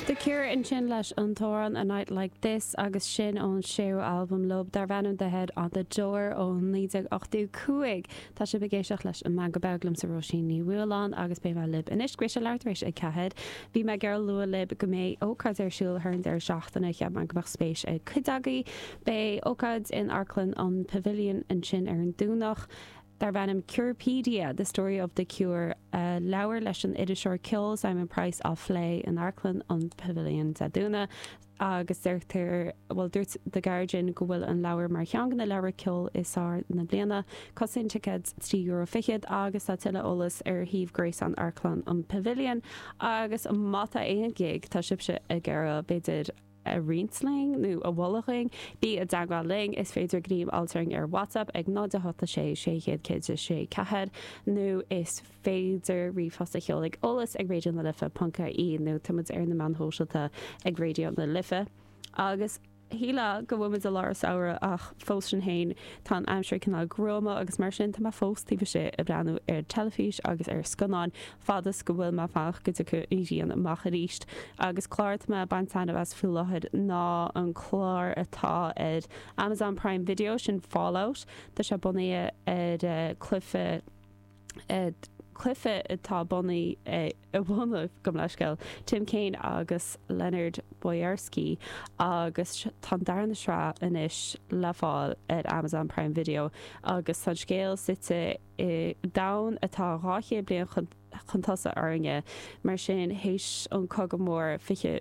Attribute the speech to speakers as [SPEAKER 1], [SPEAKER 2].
[SPEAKER 1] The Cure ansin leis an t-amhrán A Night Like This agus sin ón séú albam leo darb ainm The Head on the Door ó 1985. Tá sibh ag éisteacht leis an Meangadh Beag liomsa Róisín Ní Bhualáin agus beidh mé libh anois go mbeidh sé leathuair tar éis a 4. Bhí mé ag iarraidh lua libh go mbeidh ócáid ar siúl thar an deireadh seachtaine, cheap mé go mbeadh spéis ag cuid agaibh. Beidh ócáid in Amharclann an Pavilion ansin ar an Domhnach. darb ainm Curepedia, The Story of the Cure, leabhar leis an iriseoir ceoil Simon Price á phlé in Amharclann an Pavilion Dé Domhnaigh agus deirtear, bhuel dúirt The Guardian go bhfuil an leabhar mar cheann de na leabhair ceoil is fearr na bliana. Cosnaíonn ticéid €3.20 agus tá tuilleadh eolas ar shuíomh gréasáin Amharclann an Pavilion agus má tá aon ghig tá sibhse ag iarraidh b'fhéidir a roinnt linn nó a mholadh dhúinn, bí i dteagmháil linn. Is féidir gníomh a fháilt orainn ar WhatsApp ag 0 8 6 600 106 4 nó is féidir ríomhphost a sheoladh ag eolas ag raidió na life ponc ie nó tá muid ar na meáin shóisialta ag Raidió na Life. Agus shílfeá go bhfuil muid i lár an samhradh ach fós sin féin tá an aimsir cineál gruama agus mar sin tá mé fós taobh istigh ag breathnú ar teilifís agus ar scannáin fad is go bhfuil mé ag fanacht go dtiocfaidh an ghrian amach arís. Agus clár atá mé ag baint taitneamh as faoi láthair ná an clár atá ar Amazon Prime Video, sin Fallout. Tá sé bunaithe ar cluiche, cluiche atá bunaithe, a bhunaigh, gabh mo leithscéal, Tim Cain agus Leonard Boyarsky agus tá an darna sraith anois le fáil ar Amazon Prime Video agus tá an scéal suite i domhan atá 200 bliain chun tosaigh orainne, mar sin, théis an Cogadh Mór 20.